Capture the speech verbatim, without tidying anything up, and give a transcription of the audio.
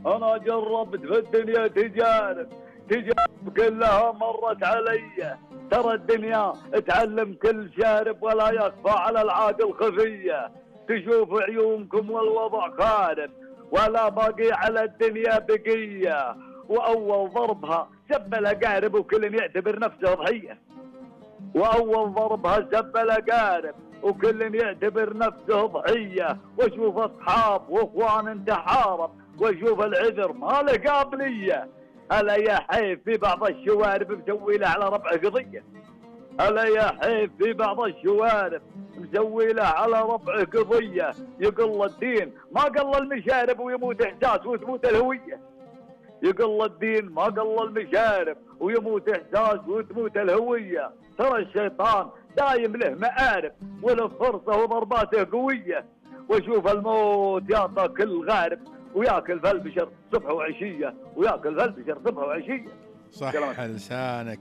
أنا جربت في الدنيا تجارب، تجارب كلها مرت علي. ترى الدنيا تعلم كل شارب ولا يخفى على العاقل خفية. تشوف عيونكم والوضع خارب ولا باقي على الدنيا بقية. وأول ضربها سب الأقارب وكل يعتبر نفسه ضحية. وأول ضربها سب الأقارب وكل يعتبر نفسه ضحية. واشوف أصحاب وإخوان تحارب واشوف العذر ما له قابلية. هلا يا حيف في بعض الشوارب مسوي له على ربع قضية. هلا يا حيف في بعض الشوارب مسوي له على ربع قضية. يقل الدين ما قل المشارب ويموت إحساس وتموت الهوية. يقل الدين ما قل المشارب ويموت إحساس وتموت الهوية. ترى الشيطان دايم له مآرب وله فرصة وضرباته قوية. وشوف الموت يعطى كل غارب وياكل في البشر صبح وعشية. وياكل في البشر صبح وعشية. صح لسانك